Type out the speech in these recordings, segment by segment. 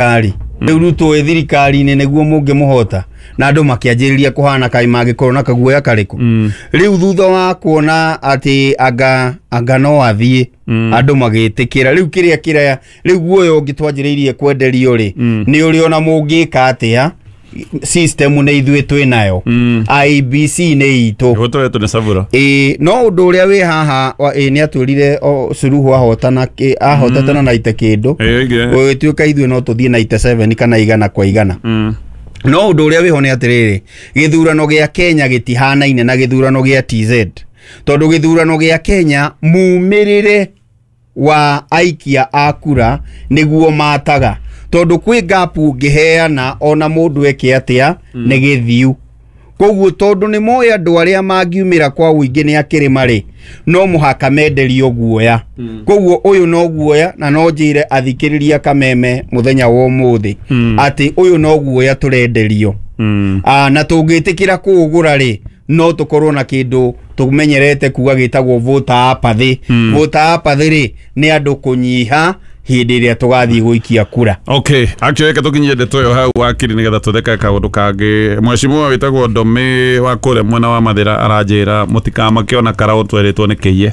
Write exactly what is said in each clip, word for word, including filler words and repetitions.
Thirikari rĩu Ruto wĩ thirikari-inĩ nĩguo mũngĩmũhota, na andũ makĩanjĩrĩria kũhana kaĩ mangĩkorwo na kaguoya karĩkũ. Rĩu thutha wa kuona atĩ anga anga no athiĩ, andũ magĩtĩkĩra. Rĩu kĩrĩa kĩrĩa rĩu guoya ũngĩ twanjĩrĩirie kwenderio rĩ, nĩ ũrĩ ona mũngĩka atĩa, system nĩ ithuĩ twĩ nayo, I E B C nĩ itũ. Gũtũretwo nĩ Savura. Ĩĩ, no ũndũ ũrĩa wĩ haha wa- ĩ nĩ atwĩrire o Suluhu ahotana kĩ- ahotete na naite kĩndũ. Ĩĩ, oigire. Gũgĩtuĩka ithuĩ no tũthiĩ ninety-seven kana igana kwa igana. Mm. No ũndũ ũrĩa wĩho nĩ atĩrĩrĩ, gĩthurano gĩa Kenya gĩtihanaine na gĩthurano gĩa T Z, tondũ gĩthurano gĩa Kenya mumĩrĩre wa aikia a kura nĩguo mataga, tondũ kwĩ gap ũngĩheana ona mũndũ eke atĩa nĩ gĩthiu. Koguo tondũ nĩ moĩ andũ arĩa mangiumĩra kwa ũingĩ nĩ akĩrĩma rĩ, no mũhaka menderio guoya. Koguo ũyũ no guoya, na no njĩre athikĩrĩria Kameme mũthenya wa ũmũthĩ atĩ ũyũ no guoya tũrenderio. Mm. Ah, na tũngĩtĩkĩra kũũgũra rĩ, no tũkorwo na kĩndũ tũmenyerete kuga gĩtagwo voter apathy. Voter apathy rĩ, nĩ andũ kũnyiha hĩndĩ ĩrĩa tũgathiĩ gũikia kura. Okay, actually reke tũkinyie ndeto ĩyo hau, wakiri, nĩgetha tũtheke kaũndũ kangĩ. Mheshimiwa wĩtagwo Ndome wa kũrĩa mwena wa Mathĩra aranjĩra mũtikamake ona karaũ twerĩtwo nĩ kĩiye.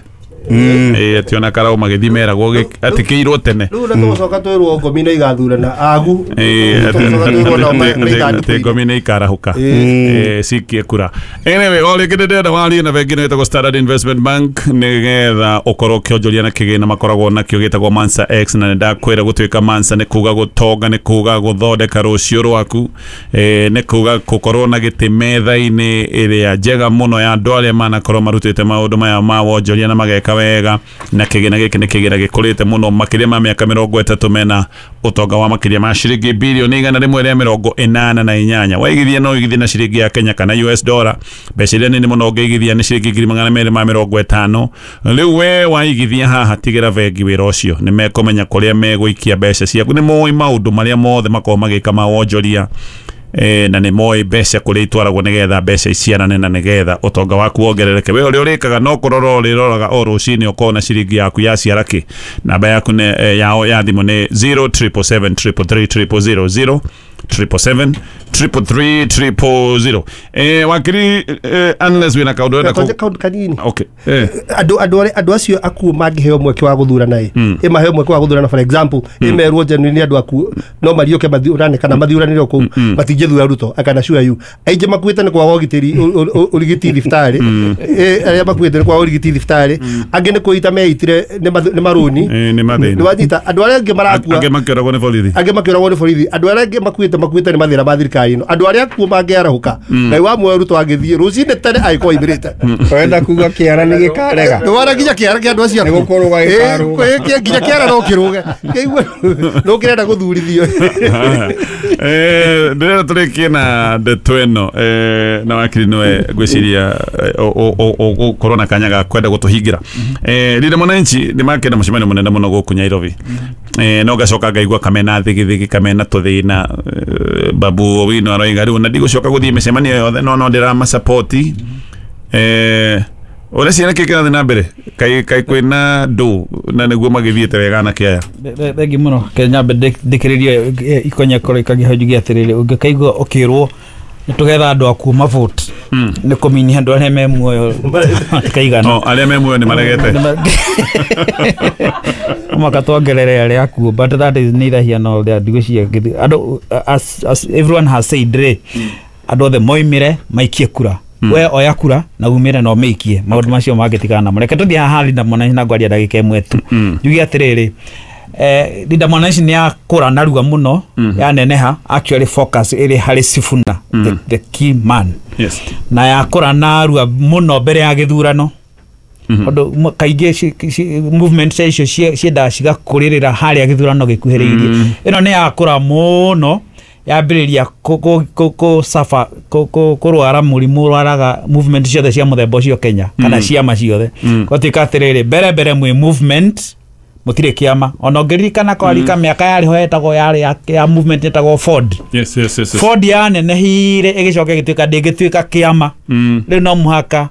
Ĩĩ, atĩ ona karaũ magĩthiĩ meragwo gĩ- atĩ kĩirwo tene. Rĩu na tũgũcoka twĩrwo ngomi nĩ igathurana agu. Ĩĩ, atĩ- Tũgũcoka twĩrwo nao atĩ- nĩ atĩ ithandũkũ-inĩ. ngomi nĩ ikarahũka. Ĩĩ, cikie kura. Anyway, o rĩngĩ ndĩrenda warie na bengi ĩno ĩtagwo Standard Investment Bank nĩgetha ũkorwo ũkĩonjoria na kĩgĩna makoragwo nakĩo gĩtagwo Mansa X. Na nĩndakwĩra gũtuĩka Mansa nĩ kuga gũtonga, nĩ kuga gũthondeka rũciũ rwaku, eh, nĩ kuga gũkorwo na gĩtĩ metha-inĩ ĩrĩa njega mũno ya andũ arĩa manakorwo marutĩte maũndũ maya ma wonjoria na mageka wega. Na kĩgĩna gĩkĩ nĩ kĩgĩna gĩkũrĩte mũno makĩria ma mĩaka mĩrongo ĩtatũ, mena ũtonga wa makĩria ma ciringi bilioni igana rĩmwe rĩa mĩrongo ĩnana na inyanya. Waigithia no ũigithie na ciringi ya Kenya kana U S dollar. Mbeca iria nini mũno ũngĩigithia nĩ ciringi ngiri magana merĩ ma mĩrongo ĩtano. Rĩu we waigithia haha, tigĩra bengi wĩra ũcio, nĩ mekũmenya kũrĩa megũikia mbeca ciaku, nĩ moĩ maũndũ marĩa mothe makoragwo magĩka ma wonjoria, eh, na nĩ moĩ mbeca kũrĩa itwaragwo nĩgetha mbeca iciarane na nĩgetha ũtonga waku wongerereke. We ũrĩa ũrĩkaga no kũrora ũrĩroraga o rũcinĩ ũkona ciringi yaku yaciara kĩ. Namba yaku nĩ, eh, yao ya thimũ nĩ zero triple seven triple three triple zero, zero triple seven triple three triple zero. Eh, wakiri, eh, unless wĩna kaũndũ ũrenda Tonje kũ- kaũndũ kanini. Okay, eh. andũ andũ arĩa andũ acio akuũ mangĩheo mweke wa gũthurana ĩ ĩ maheo mweke wa gũthurana, for example, ĩmerwo genuinely andũ akuũ no mariũke mathiũrane kana mathiũranĩre kũu, matingĩthura Ruto. I can assure you aingĩ makuĩte nĩ kwaga ũgitĩri, ũ- ũ- ũ- ũrigiti thibitarĩ. Ĩ, arĩa makuĩte nĩ kwaga ũrigiti thibitarĩ, angĩ nĩ kwĩita meitire nĩ math- nĩ marũni. Eh, nĩ mathĩna. Nĩ wanyita, andũ arĩa angĩ marakua Angĩ makĩoragwo nĩ borithi. Angĩ makĩoragwo nĩ borithi. Andũ arĩa angĩ makuĩte makuĩte nĩ mathĩna ma thirikari ĩno. Andũ arĩa akuũ mangĩarahũka, Ngai wa muoyo, Ruto angĩthiĩ rũcinĩ tene angĩkorwo aimĩrĩte. Wenda kuga kĩara nĩ gĩkarega? Ndwara nginya kĩara kĩa andũ acio Nĩ gũkũrũga gĩkarũga. Ĩ, kĩ- nginya kĩara no kĩrũge. Kĩigue no kĩrenda gũthurithio. Eh, ndĩrenda tũrĩkie na ndeto ĩno, eh, na wakiri nĩwe ngwĩciria ũgũkorwo na kanya ga kwenda gũtũhingĩra. Eh, Linda Mwananchi nĩ makĩenda mũcemanio mũnene mũno gũkũ Nairobi. Eh, no ngacoka ngaigua kamena thigithigi, kamena tũthĩna. eh, Babu Owino aroiga rĩu na ndigũcoka gũthiĩ mĩcemanio yothe, no no ndĩramasapoti. eh, ũrĩa ciana kĩ kĩrathiĩ na mbere, kaĩ kaĩ kwĩna ndũ na nĩguo magĩthiĩte wega anake aya? Thengi mũno. Ke nyambe ndĩkĩrĩrie ikonyekoro ikagĩho njuge atĩrĩrĩ, ũngĩkaigua ũkĩrwo nĩ tũgetha andũ akuũ mavote, nĩ kũminia andũ arĩa me muoyo matikaigana. No arĩa me muoyo nĩ maregete. Mũhaka tuongerere arĩa akuũ, but that is neither here nor there. Ndigwĩciria andũ, as, as everyone has said rĩ, andũ othe moimĩre maikie kura. We oya kura na umĩre na ũmĩikie, maũndũ macio mangĩtigana namo. Reke tũthiĩ haha Linda Mwananchi na ngwaria ndagĩka ĩmwe tu, njuge atĩrĩrĩ, eh, Linda Mwananchi nĩ yakũra narua mũno, yaneneha. Actually focus ĩrĩ harĩ Sifuna, the, the key man. Yes na yakũra narua mũno mbere ya gĩthurano, tondũ mm kaingĩ ci- ci- movement cia icio cie- ciendaga cigakũrĩrĩra harĩa gĩthurano gĩkuhĩrĩirie. Ĩno nĩ yakũra mũno, yambĩrĩria kũ- kũ- kũ- kũ suffer, kũ- kũ- kũrwara mũrimũ ũrwaraga movement ciothe cia mũthemba ũcio Kenya kana ciama ciothe. Gwatuĩka atĩrĩrĩ, mbere mbere mwĩ movement, mũtirĩ kĩama. Ona ũngĩririkana kwarika mĩaka yarĩ ho yetagwo yarĩ ya, ya movement yetagwo Ford. yes yes yes, yes. Ford yanenehire ĩgĩcoka ĩgĩtuĩka ndĩngĩtuĩka kĩama. Mm. Rĩu no mũhaka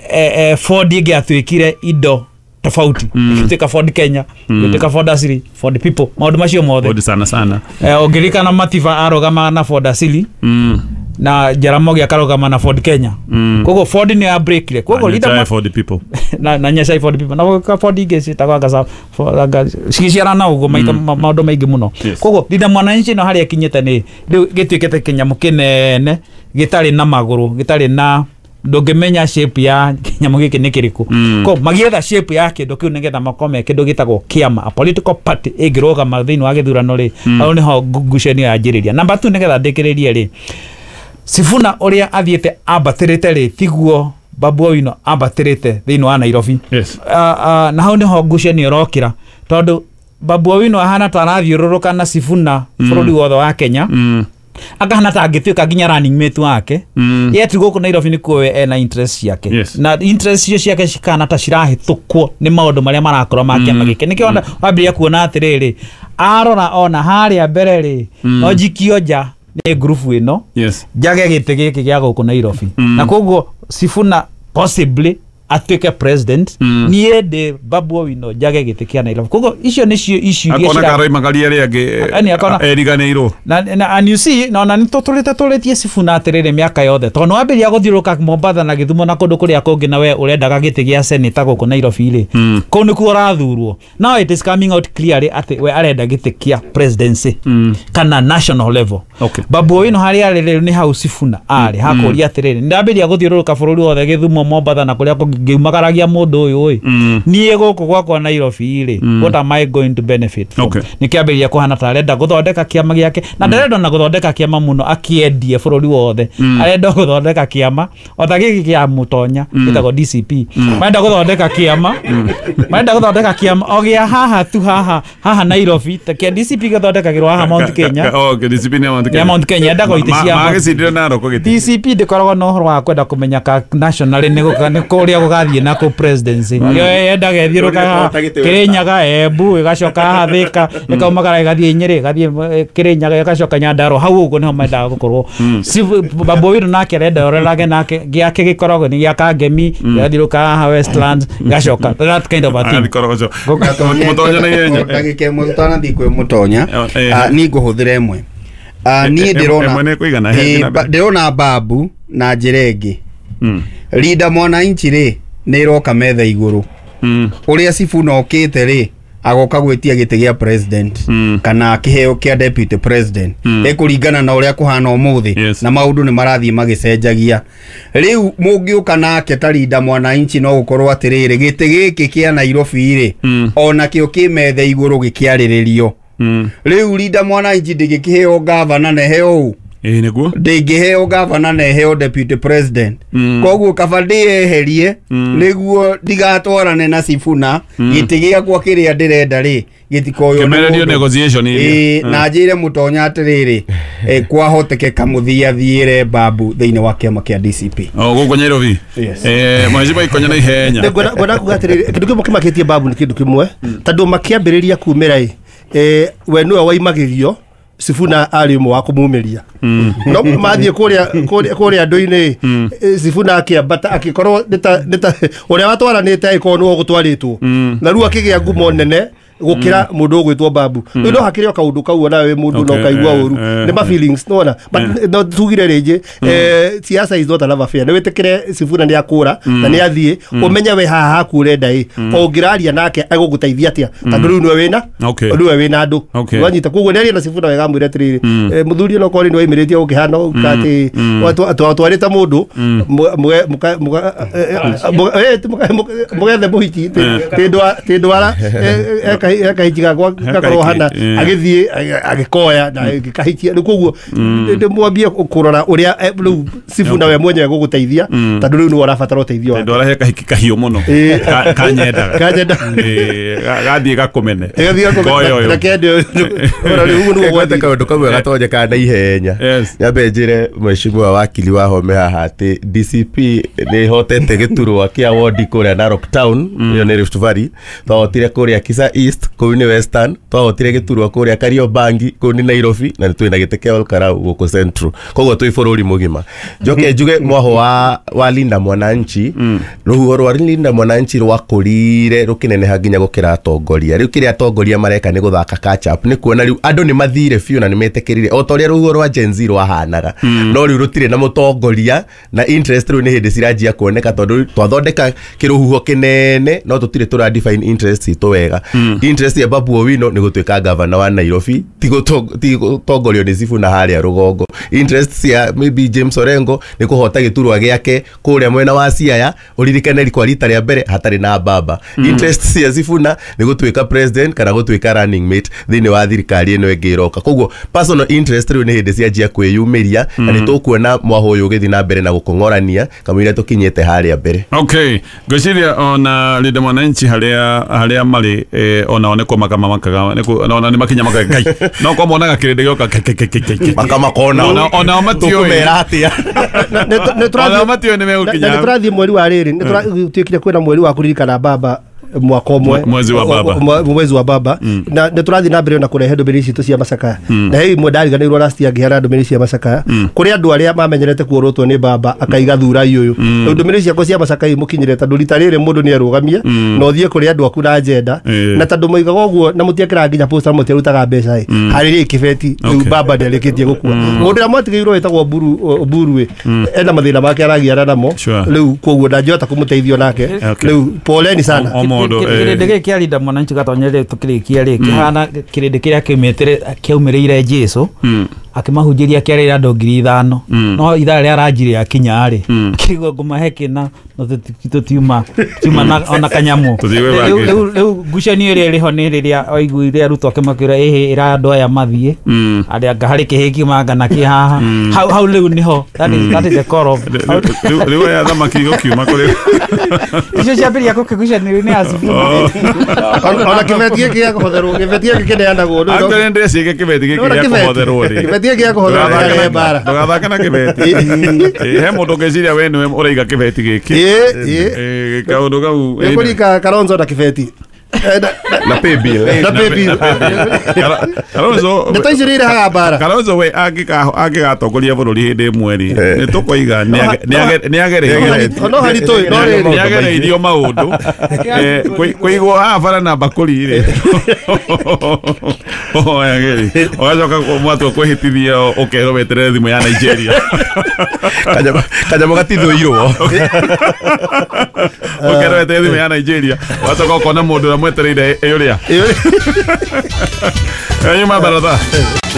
eh, eh, Ford ĩngĩatuĩkire indo tofauti, ĩgĩtuĩka Ford Kenya, ĩgĩtuĩka Ford Asili, Ford People, maũndũ macio mothe. Ford sana sana. Eh, ũngĩririkana Matiba arũgama na Ford Asili Mm. na Jaramogi akarũgama na Ford Kenya. Mm. Koguo Ford nĩ ya breakire. Koguo leader Nyachae Ford People. na na Nyachae Ford People na ka Ford ingĩ ciĩtagwo anga sa Ford- anga cigĩciarana ũguo maita ma- maũndũ maingĩ mũno. Yes. Koguo Linda Mwananchi no harĩa ĩkinyĩte nĩ rĩu gĩtuĩkĩte kĩnyamũ kĩnene gĩtarĩ na magũrũ, gĩtarĩ na ndũngĩmenya shape ya kĩnyamũ gĩkĩ nĩ kĩrĩkũ. Mm. Ko magĩetha shape ya kĩndũ kĩu nĩgetha makorwo me kĩndũ gĩtagwo kĩama, a political party ĩngĩrũgama thĩinĩ wa gĩthurano rĩ, hau nĩho ngucanio yanjĩrĩria. Namba two, nĩgetha ndĩkĩrĩrie rĩ, Sifuna ũrĩa athiĩte ambatĩrĩte rĩ, tiguo Babu Owino ambatĩrĩte thĩinĩ wa Nairobi. Yes. Uh, uh, na hau nĩho ngucanio ĩrokĩra tondũ Babu Owino ahana ta arathiũrũrũka na Sifuna bũrũri wothe wa Kenya, Mm. akahana ta angĩtuĩka nginya running mate wake. Mm. Yet gũkũ Nairobi nĩkuo we ena interest ciake. Yes. Na interest icio ciake cikahana ta cirahĩtũkwo nĩ maũndũ marĩa marakorwo ma kĩama gĩkĩ. Nĩkĩo mm. wambĩrĩria kuona atĩrĩrĩ, arora ona harĩa mbere rĩ, no njikio nja nĩ ngurubu ĩno, Yes. njage gĩtĩ gĩkĩ gĩa gũkũ Nairobi, Mm. na koguo Sifuna possibly atuĩke president, Mm. niĩ ndĩ Babu Owino njage gĩtĩ kĩa Nairobi. Koguo icio nĩcio icio iria Akona cira- karoimagaria arĩa angĩ Yaani akona- eriganĩirwo. na, na, and you see, na ona nĩ tũtũrĩte tũrĩtie Sifuna atĩrĩrĩ mĩaka yothe tondũ nĩwambĩrĩria gũthiũrũrũka Mombatha na Gĩthumo na kũndũ kũrĩa kũngĩ, na we ũrendaga gĩtĩ gĩa seneta gũkũ Nairobi rĩ, Mm. kũu nĩkuo ũrathurwo. Now it is coming out clearly atĩ we arenda gĩtĩ kĩa presidency Mm. kana national level. Okay. Babu Owino harĩa arĩ rĩu nĩ hau Sifuna arĩ hakũria atĩrĩrĩ, nĩndambĩrĩria gũthiũrũrũka bũrũri wothe, Gĩthumo, Mombatha na kũrĩa kũngĩ, ngĩumagaragia mũndũ ũyũ ĩ, Mm. niĩ gũkũ gwakwa Nairobi rĩ, what am I going to benefit from? Okay. Nĩkĩambĩrĩria kũhana ta arenda gũthondeka kĩama gĩake, na ndarenda ona gũthondeka kĩama mũno akĩendie bũrũri wothe, arenda gũthondeka kĩama o ta gĩkĩ kĩa Mũtonya gĩtagwo D C P. Marenda gũthondeka kĩama, marenda gũthondeka kĩama o gĩa haha tu, haha haha Nairobi, ta kĩa D C P gĩthondekagĩrwo haha Mount Kenya. Okay, D C P nĩ ya Mount Kenya. Ya Mount Kenya, yendaga itĩ cia Ma- magĩcindire Narok gĩtĩ. D C P ndĩkoragwo na ũhoro wa kwenda kũmenya ka national nĩ gũka- nĩ kũrĩa gũgathiĩ na kũ presidency. Yo yendaga ĩthiũrũka haha Kĩrĩnyaga, Embu, ĩgacoka haha Thĩka, ĩkaumagara ĩgathiĩ Nyĩrĩ, ĩgathiĩ eh, Kĩrĩnyaga, ĩgacoka Nyandarua. Hau ũguo nĩho mendaga gũkorwo. Sifu- Babu Owino nake arenda orerage nake gĩake gĩkoragwo nĩ gĩa Kangemi, ĩgathiũrũka haha Westlands, ĩgacoka that kind of a thing. Agathiĩ Korogocho. Mũtonya na ihenya. Ndagĩka ĩmwe tũtanathiĩ kwĩ Mũtonya, Eh, eh. ah, niĩ ngũhũthĩra ĩmwe. Ah, niĩ Eh, eh, ndĩrona ĩmwe nĩ ĩkũigana, Eh, he, ba- mbere. ndĩrona Babu na njĩra ĩngĩ. Mm. Linda Mwananchi rĩ, nĩ ĩroka metha igũrũ. Mm. Ũrĩa Sifuna okĩte rĩ, agoka gwĩtia gĩtĩ gĩa president Mm. kana kĩheo kĩa deputy president, Mm. ĩkũringana na ũrĩa kũhana ũmũthĩ. Yes. Na maũndũ nĩ marathiĩ magĩcenjagia. Rĩu mũngĩũka nake ta Linda Mwananchi, no gũkorwo atĩrĩrĩ, gĩtĩ gĩkĩ kĩa Nairobi rĩ, Mm. onakĩo kĩ metha igũrũ gĩkĩarĩrĩrio. Mm. Rĩu Linda Mwananchi ndĩngĩkĩheo gavana na ĩheo ũ, Ĩĩ nĩguo. ndĩngĩheo gavana na ĩheo deputy president. Mm. Koguo kaba ndĩyeherie Mm. nĩguo ndigatwarane na Sifuna, gĩtĩ gĩakwa kĩrĩa ndĩrenda rĩ gĩtikoywo nĩ Kĩmererio mũndũ. negotiation iria. Ĩĩ, na njĩre Mũtonya atĩrĩrĩ, eh, kwahotekeka mũthia thiĩre Babu thĩinĩ wa kĩama kĩa D C P. O gũkũ Nairobi. Yes. Eh, Mheshimiwa Ikonya na ihenya. Ngwenda kuga atĩrĩrĩ, kĩndũ kĩmwe kĩmakĩtie Babu nĩ kĩndũ kĩmwe, tondũ makĩambĩrĩria kumĩra ĩ, eh, we nĩwe waimagĩrio, Sifuna arĩ ũmwe wa kũmumĩria, no mathiĩ kũrĩa kũrĩa kũrĩa andũ-inĩ, eh, Sifuna akĩambata akĩkorwo nĩ ta nĩ ta ũrĩa watwaranĩte agĩkorwo nĩwe ũgũtwarĩtwo, na rĩu akĩgĩa ngumo nene gũkĩra mũndũ ũgwĩtwo Babu. Rĩu no hakĩrĩ o kaũndũ kau onawe wĩ mũndũ no Okay, ũkaigua eh, ũru, eh, nĩ ma feelings nĩwona, but no tugire rĩngĩ, eh, siasa is not a love affair. Nĩ wĩtĩkĩre Sifuna nĩ akũra na nĩ athiĩ, ũmenye we haha haku ũrenda ĩ, o ũngĩraria nake egũgũteithia atĩa, tondũ rĩu nĩwe wĩna Okay. nĩwe wĩna andũ. Okay. Wanyita koguo nĩ aria na Sifuna wega amwĩre atĩrĩrĩ, eh, mũthuri ono korĩ nĩ waimĩrĩtie ũkĩhana ũka atĩ twatwarĩte mũndũ mũgethe mũhiki tĩ ndwara kahiki gakwa gakorwo hana eh. agĩthiĩ agĩkoya na gĩkahikia. Rĩu koguo ndĩmwambie kũrora ũrĩa eh, rĩu Sifuna we mwenyewe gũgũteithia, tondũ rĩu nĩwe ũrabatara ũteithio wake. Ndwara he kahiki kahiũ mũno. Ĩĩ. Ka- Kanyendaga. Kanyenda. Ĩĩ, ga- gathiĩ gakũmene. Ĩgathiĩ gakũmene. Koya ũyũ. Na kende ũyũ. Ora rĩu ũguo nĩguo Ngwete gwathiĩ. kaũndũ kamwe gatonyekaga na ihenya. Yes. Nyambe njĩre mheshimiwa wakili wa Home haha atĩ D C P nĩ ĩhotete gĩturwa kĩa wodi kũrĩa Narok Town, ĩyo nĩ Rift Valley, twahotire kũrĩa Kisa East. East kũu nĩ Western, twahotire gĩturwa kũrĩa Kariobangi kũu nĩ Nairobi, na twĩna gĩtĩ kĩa Olkarau gũkũ Central. Koguo twĩ bũrũri mũgima. Njoke njuge mwaho wa, wa Linda Mwananchi, rũhuho rwa Linda Mwananchi rwakũrire rũkĩneneha nginya gũkĩra atongoria. Rĩu kĩrĩa atongoria mareka nĩ gũthaka catch up, nĩ kuona rĩu andũ nĩ mathire biũ na nĩ metĩkĩrire o ta ũrĩa rũhuho rwa Gen Z rwahanaga, no rĩu rũtirĩ na mũtongoria na interest rĩu nĩ hĩndĩ ciranjia kuoneka, tondũ twathondeka kĩrũhuho kĩnene no tũtirĩ tũra define interest citũ wega. Interest ya Babu Owino nĩ gũtuĩka gavana wa Nairobi, ti gũto- ti gũtongorio nĩ Sifuna harĩa rũgongo. Interest cia maybe James Orengo nĩ kũhota gĩturwa gĩake kũrĩa mwena wa Siaya, ũririkane kwa rita rĩa mbere hatarĩ na baba. Interest cia Sifuna nĩ gũtuĩka president kana gũtuĩka running mate thĩinĩ wa thirikari ĩno ĩngĩ ĩroka. Koguo personal interest rĩu nĩ hĩndĩ cianjia kwĩyumĩria, na nĩ tũkuona mwaho ũyũ ũgĩthiĩ na mbere na gũkong'orania kamũira tũkinyĩte harĩa mbere. Okay, ngwĩciria ona Linda Mwananchi harĩa harĩa marĩ eh, onao nĩ kũmaka mamakaga, nĩ kũ- ona nĩ makinya makaga ngai no kwa monaga kĩrĩndĩ gĩoka kai, kai, kai, kai, kai, kai. Makamakona Ona- onao matiũĩ. tũkũmera atĩa. Onao matiũĩ nĩ megũkinya nä tå rathiä mweri wa rä rä nä tå tuä kire kwä na mweri wa kũririkana baba mwaka ũmwe, Mwezi wa baba. Mwe- mwezi wa baba, na nä tå rathiä na mbere na kũrehe ndũmĩrĩri citũ cia macakaya, na he imwe ndariganĩirwo last year ngĩheana ndũmĩrĩri cia macakaya kũrĩ andũ arĩa mamenyerete kuorotwo nĩ baba akaiga thurai ũyũ. Rĩu ndũmĩrĩri ciakwa cia macakaya imũkinyĩre, tondũ rita rĩrĩ mũndũ nĩ arũgamie na ũthiĩ kũrĩ andũ aku na agenda, Ĩĩ. na tondũ moigaga ũguo na mũtiekĩraga nginya poster, mũtiarutaga mbeca ĩ harĩ rĩ kĩbeti rĩu Okay. baba nĩarĩkĩtie gũkua. Mũndũ ũrĩa mwatigĩirwo wĩtagwo Mburu Mburu ĩ ena mathĩna make aragiana namo Sure. rĩu, koguo ndangĩhota kũmũteithio nake. Okay. Rĩu poleni sana. O mũndũ, eh. Kĩrĩndĩ gĩkĩ kĩa Linda Mwananchi gatonyere tũkĩrĩkia rĩ, kĩhana kĩrĩndĩ kĩrĩa kĩaumĩte kĩaumĩrĩire Jesu akĩmahunjĩria kĩarĩire andũ ngiri ithano, no ithaa rĩa ranji rĩakinya rĩ kĩigua ngũmahe kĩna no tũti- tũtiuma tiuma na ona kanyamũ. Tũthiĩ gwĩ Rĩu- bangĩ. rĩu rĩu ngucanio ĩrĩa ĩrĩ ho nĩ rĩrĩa waiguire arutwo akĩmakwĩra ĩhĩ ĩra andũ aya mathiĩ arĩa anga harĩ kĩhĩ kiumanga na kĩ haha hau hau rĩu nĩho that is that is the core of Rĩu- rĩu rĩu aya thamaki gũkiuma kũrĩ icio ciambĩrĩria gũkĩgucanĩrio nĩ acibu. Ona kĩbeti gĩkĩ gĩa kũhotherwo, kĩbeti gĩkĩ kĩneanagwo rĩu no- Actually ndĩreciria kĩbeti gĩkĩ Nona gĩa kĩbeti. kũhotherwo rĩ. Kĩbeti gĩkĩ gĩa kũhotherwo Ndũgathake kĩrehe mbara. Ndũgathake na kĩbeti. Ĩ, he mũndũ ũngĩciria we nĩwe ũraiga kĩbeti gĩkĩ. Ĩ, ĩ. Ĩ, kaũndũ kau Nĩ kũringa Kalonzo na kĩbeti Eh, na- na pay bill. Na pay bill. Kara- Kalonzo Ndeto icio nĩ irehaga mbara. Kalonzo we angĩka- angĩgatongoria bũrũri hĩndĩ ĩmwe rĩ, nĩ tũkoiga nĩ age- nĩ agereirio No haritũ no rĩrĩ. nĩ agereirio maũndũ. Eh, kũi- kũigwo haha bara na mbakũri rĩ oyageri ũgacoka mwatua kwĩhĩtithia ũkerwo weterere thimũ ya Nigeria. Kanyamũ kanyamũ gatithũirwo. Ũkerwo weterere thimũ ya Nigeria, ũgacoka ũkona mũndũ ũrĩa mwetereire ĩ ũrĩa Ĩ, nyuma baratha.